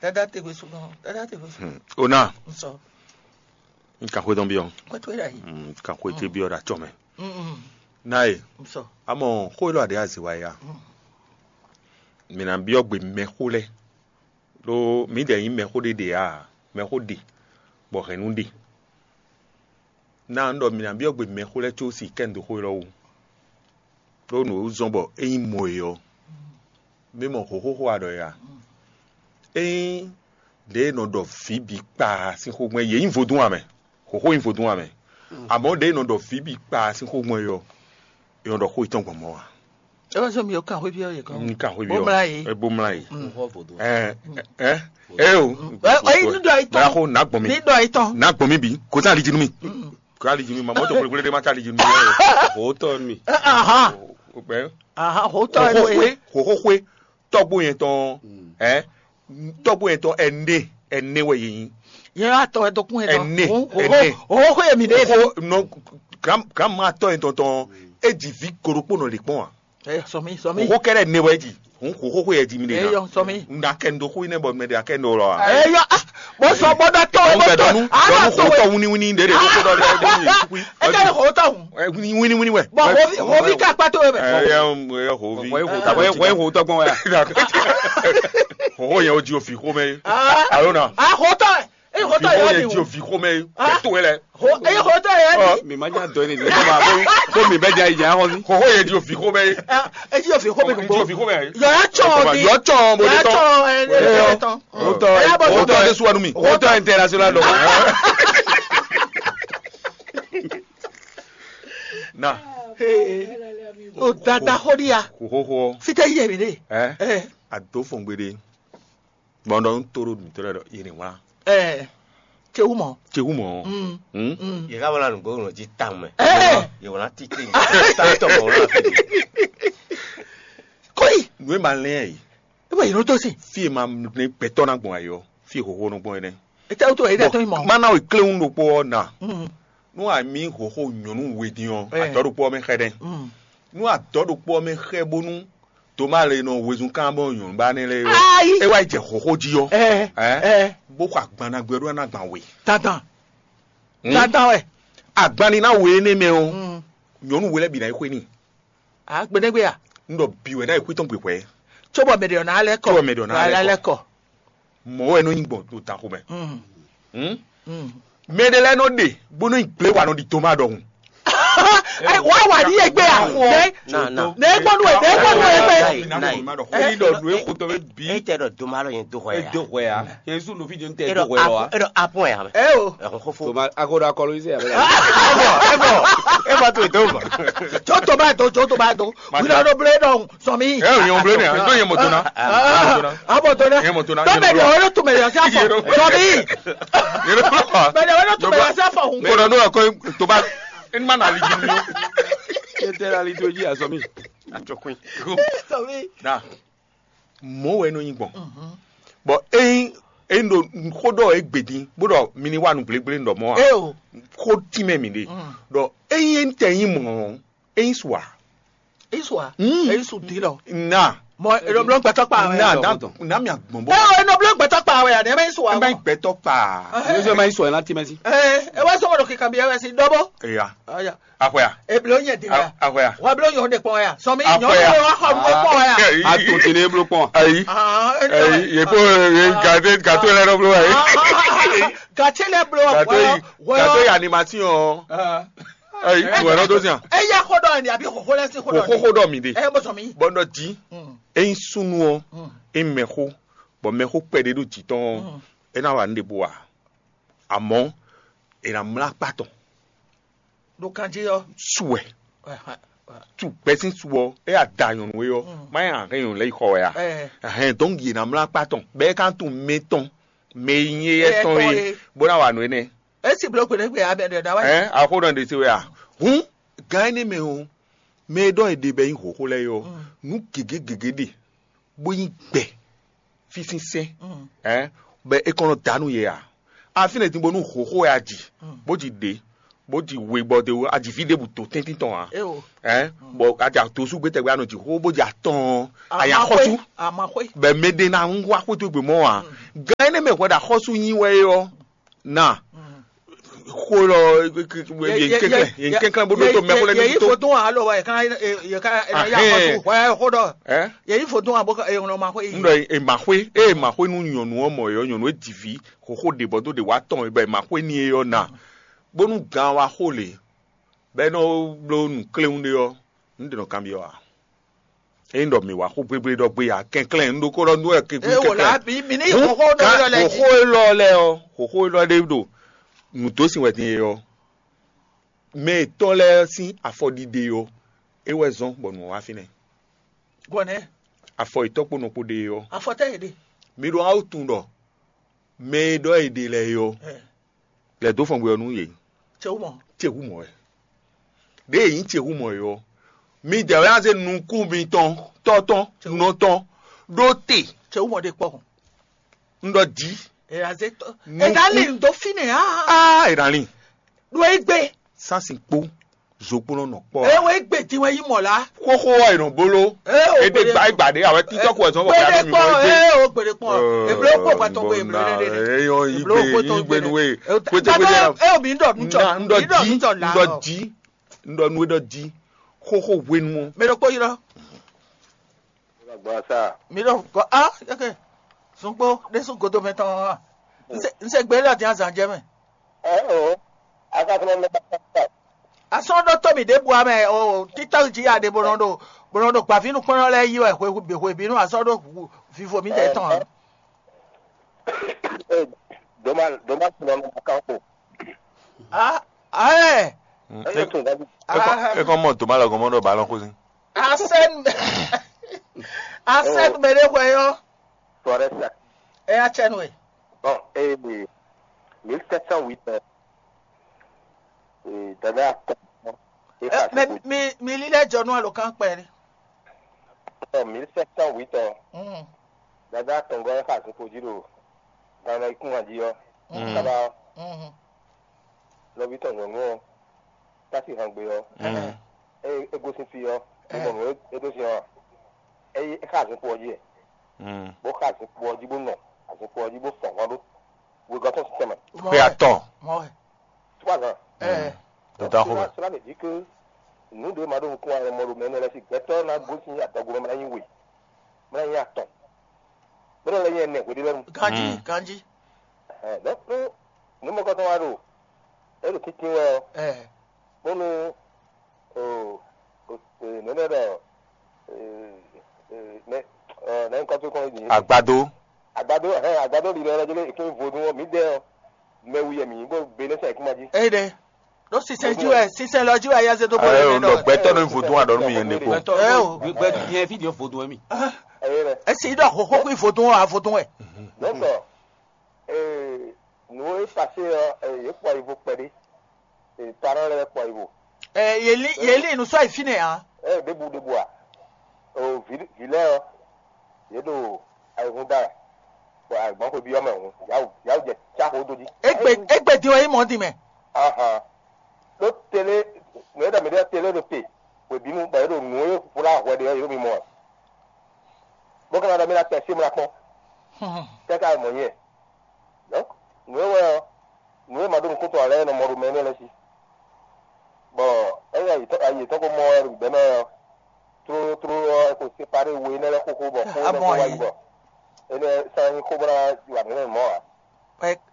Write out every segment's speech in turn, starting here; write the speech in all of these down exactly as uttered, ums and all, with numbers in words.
Dada te hwe sugɔn, dada te hwe sugɔn. Hmm. Ona, Nsɔ, n ka xwé tɔn byɔ́. Kpɛtɛ wɛ ɖayi. Hmm, n ka xwé tɔn byɔ́ ɖo acɔ mɛ. Mm. Na ye. Nsɔ. Amɔ xó élɔ́ aɖé azě wa ya. Mm. Mǐ ná byɔ́ gbe mɛxó lɛ́ɛ. Ɖó mǐdɛɛ nyí mɛxó ɖé ɖe ǎ, mɛxó ɖe, bɔ hɛ̌nnu ɖe. Na un ɖɔ mǐ ná byɔ́ gbe mɛxó lɛ́ɛ có si kɛ́n dó xó élɔ́ wú. Ɖó nǔ e wú zɔ́n bɔ é nyí mɔ e ɔ́, mí mɔ hǒxóxó a ɖɔ é a? Ényí ɖě e nɔ ɖɔ vǐ bǐ kpaa sín xó gbɔn é, yě nyí vodún ǎ mɛ, hǒxó nyí vodún ǎ mɛ. Amɔ̌ ɖě e nɔ ɖɔ vǐ bǐ kpaa sín xó gbɔn é ɔ́, è nɔ ɖɔ xó yětɔn gbɔn mɔ̌ ǎ. É wá sɔ́ mi ɔ́ kan xwé byɔ́ yě kɔn. Un kan xwé byɔ́. Bó mlá yě. É bó mlá yě. Ɛ ɛ ɛ o. Ɛ ɛ, ní ɖɔ yí tɔn. Báyà kó nà gbɔn mi. Ní ɖɔ yí tɔn. Nà gbɔn mi bì. Kò sá àlejò nú mi. Kò sá àlejò nú mi. Màmá tó kúlekúle dé má sá àlejò nú mi. Hòótọ́ mi. Ahan. Hòótọ́ ẹ̀ ló ye. Hòóxó tɔgbo yẹn tɔn ɛ tɔgbo yẹn tɔn ɛnɛ ɛnɛ wɛ yɛ nyi. Yẹn wá tɔ ɛ dɔkun yẹn tɔn. Ɛnɛ ɛnɛ. Hòóxó yẹn mi ɖe. Hòóxó nɔ granma tɔ yẹn tɔn tɔn. E jì vi koɖokpo nɔ lè kpɔn wa. Ɛ sɔmi sɔmi. Hòóxó kɛrɛ ne wɛ ji. Hòóxó yɛ ji mi de. Eyɔ sɔmi. N da kɛ n do xó yi nɛ bɔ mɛ de akɛ n do lɔ wa. Eyɔ ah, bó sɔ bó dɔ tó. Bó dɔ nu dɔ nu xó tɔ wini wini de de kókó dɔ de de yɛ tukui. Ɛ jẹ́ hòótọ́ hùn. Wini wini wɛ. Bɔn hòvi hòvi ká pàtó yẹ bɛ. Ɛ yɛ hòvi. Wọ́n yóò hòótọ́ gbọ́n wá yà. Hòóxó yẹn o ji o fi xó mɛ. Alo na. A hòótọ́ ɛ. Eye hotɔ yɛ di o. Fi xomɛ kɛto wɛ lɛ. Eye hotɔ yɛ di. Mi ma nya dɔ ne di. Ko mi bɛ ja yi nya xɔsi. Xɔxɔ yɛ di o fi xomɛ. Eye o fi xomɛ gbogbo. Di o fi xomɛ. Yɔ ya tsɔ di. Yɔ tsɔ mo de tɔn. Yɔ tsɔ ɛ ɛ tɔn. Hotɔ hotɔ de suwanu mi. Hotɔ international dɔ. Na. O dada xɔ di ya. Xɔxɔ. Fitɛ yɛ mi de. Ɛ. A do fɔngbe de. Gbɔn ɖɔ un to ɖo nǔtɔ́ lɛ́ɛ ɖɔ yě ní wlán. Ɛ ce wú mɔ. Ce wú mɔ. Mm. Hmm? Mm. Yě ká wlán nǔgbó nɔ jí tawun mɛ. Ɛ Yě wlán títí. Tátɔ mɔ wlán fí. Kóyi. Nǔ e ma lɛ́n ɛ yìí. E bɔ yìí nɔ tó sí. Fí e ma lɛ́n gbɛtɔ́ ná gbɔn ayɔ. Fí e xóxó nɔ gbɔn é nɛ́. Ete wútu yìí dɛ tó yìí mɔ. Má ná o kléwún ɖokpó ɔ́ nà. Mm. Nú a mǐ xóxó nyɔ̌nu we dín ɔ́, Ɛ. Adɔ̌ ɖokpó ɔ́ mɛ xɛ dɛn. Mm. Nú adɔ̌ ɖokpó ɔ́ mɛ xɛ bónú Toma le nɔ wezun kan bɔ nyɔ̌nu ba nɛ lɛ yɔ. Ayi. E wá jɛ xɔxɔ ji yɔ. Ɛ Ɛ ɛ bó xɔ agbannagbɛ ɖó ná gban we. Dandan. Hmm? Dandan wɛ. Agbanni ná we énɛ́ mɛ ɔ́, Mm. Nyɔ̌nu we lɛ́ bǐ ná yi xwé n'i. A gbɛdɛgbɛ a. N ɖɔ bǐ wɛ ná yi xwé tɔn gbè hwɛ. Tso bɔ mɛ ɖe ɔ́ ná lɛ́ kɔ. Tso bɔ mɛ ɖe ɔ́ ná lɛ́ kɔ. Mɔ̌ wɛ nɔ nyí gbɔn ɖo ta xomɛ. Mm. Hmm? Mm. Mɛ ɖé lɛ́ɛ nɔ ɖe bó nɔ nyi gblé wa nɔ ɖi Toma ɖɔhun. Ɛ wá wà ní ẹgbẹ́ à. Nɛ Na na. Nɛ gbɔnu ɛ nɛ gbɔnu ɛ gbɛ. Nai, nai. Eyi ɖɔ nǔ e xotɔ bɛ bi. E tɛ ɖɔ doma lɔ yẹn do xɔ E ya. Do xɔ ya. Yesu nɔ fi jɛn tɛ E do ɖɔ xɔ ya wa. Apɔn e ɖɔ apɔn ya mɛ. Ɛ o. Ɛhun xofo. Toma akoɖo akɔlɔ yi se ya bɛ la. Ebo ebo ebo to do ba. Tso to ba do tso to ba do. Wíwá ló blé dɔn sɔmi. Ɛ o yẹn o blé ni a. N'o yẹn mɔ to na. Abo to na. Yẹn mɔ to na. Dɔ bɛ di o yɛrɛ tun bɛ yɔ sá fɔ. Yẹn o blé. Sɔmi. Yẹn o blé wa. Bɛ di o yɛrɛ tun bɛ yɔ sá fɔ. Ko na n'o yà kɔ to ba. E ma na ali jinu yo. E tɛ ali to ji asɔmi. Atsɔkun. Sɔmi. Na. Mɔ̌ wɛ é nɔ nyí gbɔn. Bɔ ényí ényí ɖo xó ɖɔ é gbedin bó ɖɔ mi ní wa nǔ gblégblé ɖɔ mɔ̌ ǎ. Eo. Xó tínmɛ mǐ ɖe. Ɖɔ ényí é tɛ nyí mɔ̌ ɔ́, é nyí su ǎ. Isua. Mm. Eyi su di lɔ. Na. Mɔ eɖo blɔ gbɛtɔ kpa wɛ. Na na na mi agbɔn bɔ. Eo enɔ blɔ gbɛtɔ kpa wɛ ani ebe isua. Ebe gbɛtɔ kpa. Yesu ma yi sɔ ɛ na tínmɛ sí. Ee ewa sɔgɔ ɖo kika bi ɛwɛ si dɔbɔ. Eya. Aya. Akwɛa. Eblo nyɛ di wɛ. Akwɛa. Wa blo nyɔ de kpɔn ya. Sɔmi nyɔ de wa xɔ nwe kpɔn ya. A to tene eblo kpɔn. Ayi. Ah, ayi ye ko ye gade gato lɛ nɔ blo ayi. Gatse lɛ blo. Gato yi gato yi animation. Ayi wɛ nɔ do sian. Eya xɔ dɔ ni abi xɔxɔ lɛ si xɔ dɔ ni. Xɔxɔ dɔ mi de. Ɛ bɔ sɔmi. Bɔndɔ di. Eyin sunu ɔ eyin mɛxo bɔ mɛxo kpɛɖe ɖo jǐ tɔn ɔ́, é ná wa nǔ ɖěbǔ ǎ. Amɔ̌, è nǎ mlá akpá tɔn. Ɖo kan jí ɔ́. Su wɛ. Su gbɛ́ sín su ɔ́, é ya da nyɔ̌nu é ɔ́, má nyí ahɛn nyɔ̌nu lɛ́ɛ yi xɔ wɛ a? Ahɛn dɔn yě ná mlá akpá tɔn, bɔ é ka tunwun mɛ tɔn, mɛ e nyí éyɛ́ tɔn é, bó ná wa nǔ énɛ́. É sì bló gbeɖé gbe abɛ ɖɔ ɖa wá. Ɛ axó nɔ ɖe se wɛ a? Hǔn gǎn énɛ́ mɛ ɔ́, mɛ e ɖɔ è ɖe bɔ é nyí hǒxó lɛ́ɛ é ɔ́, nǔ gěgé gěgé ɖe bó nyí gbɛ fí sín sɛ́n, bɔ é kɔn nɔ da nú yě ǎ. Afínɛ din bónú hǒxó wɛ a ji, bó ji ɖě, Bó ji we gbɔ de o, aji fí ɖěbǔ tó tɛ́ntin tɔn ǎ. Eo. Ɛ bɔ aja tó sú gbé tɛgbɛ anɔ ji xó bó ji atɔn anya xɔsú. Amaxwe. Bɛ mɛ ɖé na ń wá xótó gbé mɔ ǎ. Gan énɛ́ mɛ hwɛ ɖo axɔ́sú nyi wɛ é ɔ́, na xó lɔ yě kɛnklɛn yě kɛnklɛn bó ɖó tó mɛ xó lɛ ní tó. Fotún alo wa yɛ kan yɛ kan ya xɔsú wɛ xó ɖɔ. Yɛ yi fotún abo yɛ ŋlɔ ma xó yi. Ŋɖɔ ema xwé eye ma xwé nú nyɔ̌nu ɔ́ mɔ yɔ nyɔ̌nu e ji vǐ xoxo ɖe bɔ dó ɖe wá tɔn bɔ ema xwé ní e ɔ́ na bónú gan wa xó lě bɔ é nɔ bló nǔ kléwún ɖé ɔ́, nǔ ɖě nɔ kanbyɔ́ ǎ. Ényí ɖɔ mǐ wa xó gbégbé ɖɔ gbé ǎ, kɛnklɛ́n un ɖokó ɖɔ nú wɛ kɛnklɛ́n. Ée wò lá mi mi ní xóxó ɖɔ yɔ lɛ jí. Xóxó élɔ́ lɛ́ɛ ɔ́, xóxó élɔ́ ɖé ɖo nǔdósin wɛ din e ɔ́, mɛ yětɔn lɛ́ɛ sín afɔɖiɖe ɔ́, é wɛ zɔ́n bɔ nǔ ɔ́ wá fínɛ́. Gbɔnɛ. Afɔ yětɔn kpó nɔ kpó ɖe ɔ́. Afɔtɛ́ yě ɖe. Mi ɖo awu tun ɖɔ mɛ e ɖɔ è ɖe lɛ́ɛ é ɔ́, lɛ̌ dó fɔngbe ɔ́ nú yě. Cewú mɔ. Cewú mɔ wɛ. Ɖěe nyí cewú mɔ é ɔ́, midɛɛ wɛ ná zé nukún mitɔn tɔ́ tɔn nɔ tɔn ɖó te. Cewú mɔ ɖe kpɔ́. Un ɖɔ jí. È ná zé tɔ́. È ná lin dó fínɛ́ á. Á è ná lin. Ɖó é gbé. Sásin kpó zokplɔ́n nɔ kpɔ́ ǎ. Ewé gbèdín wɛ yí mɔ̌ lá. Xóxó ɔ́ è nɔ bó ló. Ée o Ede gbèdé gba egba ɖé awɛ títɔ́ kó ɛzɔn kɔkɔ Gbèdé yàrá mi kpɔn mɔ égbe. Ée o gbèdé kpɔn. Èbló kó pàtó wé èbló lé lé. Eyɔn yí Èbló gbé kó tó yí gbé nu wé. Pété pété Tábà la. Ée o mi ń dọ̀ nú tsɔ. Na ń dɔ Mi dọ̀ jí nú tsɔ ń là dɔ ɔ. Jí ń dɔ nu é dɔ jí. Xóxó hwenu ɔ. Mi ɖo kpó yi lɔ. Gbasa. Mi ɖo gɔ a yeke. Sunkpo ɖésú godo mɛ tɔn wa. N se n se gbé lɔ dín azan jɛ mɛ. Ɛ o. Aka fana mɛ. Asɔ́n ɖó tómì ɖěbǔ ǎ mɛ o títɔ́ jí aɖe bó nɔ ɖo bó nɔ ɖo gbavínukpɔ́nɔ lɛ́ɛ yí wɛ hwe hwebǐnu asɔ́ ɖó vivo mǐdɛɛ tɔn ǎ. Doma doma sinɔ nɔ kan ko. A ayɛ. Eye tun dabi. Ekɔ mɔ doma lɔ gɔmɔ ɖo balɔn xósin. Asɛn asɛn mɛ ɖé hwɛ yɔ. Floresta. Ɛ atsɛnu e. Bon, eh, mille sept cent huit, euh, eh, dada atɔn. Eh, mais mi mi lílẹ̀ jọ nú àlòkán pẹ̀lú. En mille sept cent huit, euh, Mm. Dada atɔn gɔ́ ɛ xa zokpo jí ɖo gan ɔ́ ikún jí ɔ́. Mm. Kaba Mm. Nɔví tɔn nyɔ̌nu ɔ́, tá sín han gbe ɔ́, Mm. é é gosín fí ɔ́, é mɔ nǔ e é ɖó sin ɔ́ ǎ. É yi é xá azinkpo ɔ́ jí wɛ, Mm. bó xá azinkpo ɔ́ jí bó nɔ azinkpo ɔ́ jí bó sɔn hɔn ɖó wegɔ́ tɔn sín tɛnmɛ. Xwe atɔn. Trois ans. Ɛ Dɔdɔ xo. Cela veut dire que nǔ ɖé ma ɖó nukún ǎ, mɔ ɖo mɛ énɛ́ lɛ́ɛ sí gbɛtɔ́ ná gosín adɔgo mɛ ná nyí we, mɛ ná nyí atɔn, mɛ énɛ́ lɛ́ɛ nyí ɛnɛ hweɖé lɛ́ɛ nu. Ganjí Mm. Ganjí. Ɛhɛn, donc nú nǔmɔkɔtɔn wá ɖo é ɖo tíntín wɛ ɔ́, Ɛ bónú o o e nɛnɛ ɖɔ e e nɛ ɔ nɛ nukɔn tó kɔn yi. Agbado. Agbado ɛhɛn agbado ɖi lɛ ɔlɔjɛ lé èkún vodún ɔ mǐdɛɛ ɔ mɛ wu yɛ mǐ nyí bó be nɛ sɛ èkún ma jí. Eyi ɖe ɖo sinsɛn jí wɛ sinsɛn lɔ jí wɛ ayé azé tó bɔ Ayé yé o nɔ nɔ gbɛtɔ ní vodún aɖɔ nú yɛn ɖe kpo. Gbɛtɔ Ɛ o. Gbɛ yɛn fi ɖiɔ vodún wɛ mi. Ɛyɛ rɛ Esi ɖɔ xoxo kún vodún wɛ vodún wɛ. Donc ee nǔ e pasé ɔ ee yě kpɔ yivo kpɛɖé ee parents lɛ́ɛ kpɔ yivo. Ɛ yeli yeli nu sɔ yi fínɛ hã. Ee ɖěbǔ ɖěbǔ a o vǐ vǐ lɛ́ɛ ɔ yě ɖo ayihún da wɛ bɔ agbɔn xwe byɔ́ mɛ hǔn yǎwǔ yǎwǔ jɛ cá xó dó jí. Egbe egbe din wɛ yi mɔ din mɛ. Ahan ɖó télé nǔ e ɖɔ mǐ ɖɔ télé ɖo te hwebǐnu bɔ yě ɖo nǔ e hwlá hwɛ ɖe ɔ́ yě ɖo mimɔ wɛ bó ka ná ɖɔ mí ná tɛ sí mla kpɔ́n kɛ́ ká mɔ nyɛ. Donc nǔ e wɛ ɔ́ nǔ e ma ɖó nukúntɔn ǎ lɛ́ɛ nɔ mɔ ɖo mɛ énɛ́ lɛ́ɛ sí. Bɔ ényí ayi yětɔn ko mɔ wɛ ɖo gbɛ̌ mɛ ɔ́, tlóló tlóló ɔ́, é ko séparé we énɛ́ lɛ́ɛ xóxó bɔ xó énɛ́ ko wá yi bɔ énɛ́ sán nyí xó bó ná wa nǔ énɛ́ mɔ̌ ǎ.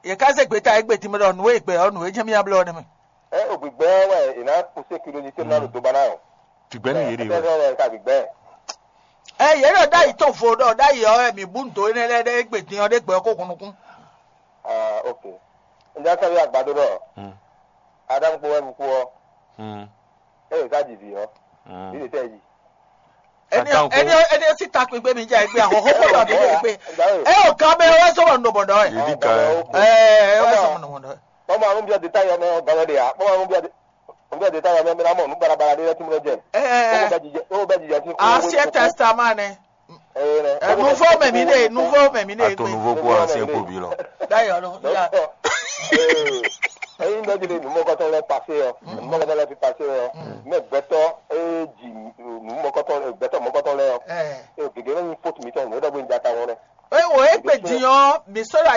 Yě ká zé gbeta égbé din mɛ ɖɔ nǔ e gbɛ ɔ́ nǔ e jɛ́n mì ná bló ɔ́ nɛ́ mɛ. Ɛ o gbigbɛ wɛ è nǎ kpó sécurité ná ɖo dó ba ná o. Tìgbɛ́ ní yě ɖe wɛ. Ɛtɛ wɛ ka gbigbɛ. Ɛ yě ɖɔ ɖ'ayǐ tɔn vo ɖɔ ɖ'ayǐ ɔ́ wɛ mǐ bú nǔ dó énɛ́ lɛ́ɛ ɖé égbé din ɔ́ ɖé gbɛ ɔ́ kó hun nukún. Ah, ok. N já sɔ́ yí àgbàdo ɖɔ Adamu kpó wɛ kúkú ɔ́, é yě ká ji vǐ ɔ́, vǐ ɖě tɛ́ jí. Ẹni ẹni ẹni sí takpin gbé mi jẹ ẹgbẹ́ àkọ́kọ́ kó lọ bí lè gbé. Ẹ ò ká bẹ wá sọ̀rọ̀ nù bọ̀dọ̀ ẹ̀. Èdè kan. Ẹ ẹ wá sọ̀rọ̀ nù bọ̀dọ̀ ẹ̀. Bọ́mọ àrùn bí ọdẹ táyọ̀ ọmọ ọ̀gá lọ́dẹ yà. Bọ́mọ àrùn bí ọdẹ ọdẹ táyọ̀ ọmọ ẹ̀mí náà mọ̀ nù barabara dé lẹ́tí mú lọ́jẹ̀. Ẹ ẹ Ó bẹ jìjẹ ó bẹ jìjẹ sí kó. Ancien Testament ni. Ẹ ẹ Nouveau mẹ̀mí ni Nouveau mẹ̀mí ni. Ato nouveau pour ancien pour bi lọ. D'ailleurs, non, il y a- Dókítà, ẹyin Tɔ́jú lé nǔmɔkɔtɔn lɛ́ɛ pasé ɔ, nǔmɔkɔtɔn lɛ́ɛ fi pasé ɔ, mɛ gbɛtɔ́ e ji nǔmɔkɔtɔn gbɛtɔ́ mɔkɔtɔn lɛ́ɛ ɔ, Ɛ, e gěgé lɔ nyi fót mitɔn nǔ ɖɔgbó nyi jata wɔn lɛ. eye wò é kpe din ɔ́, mi sɔ́ ɖo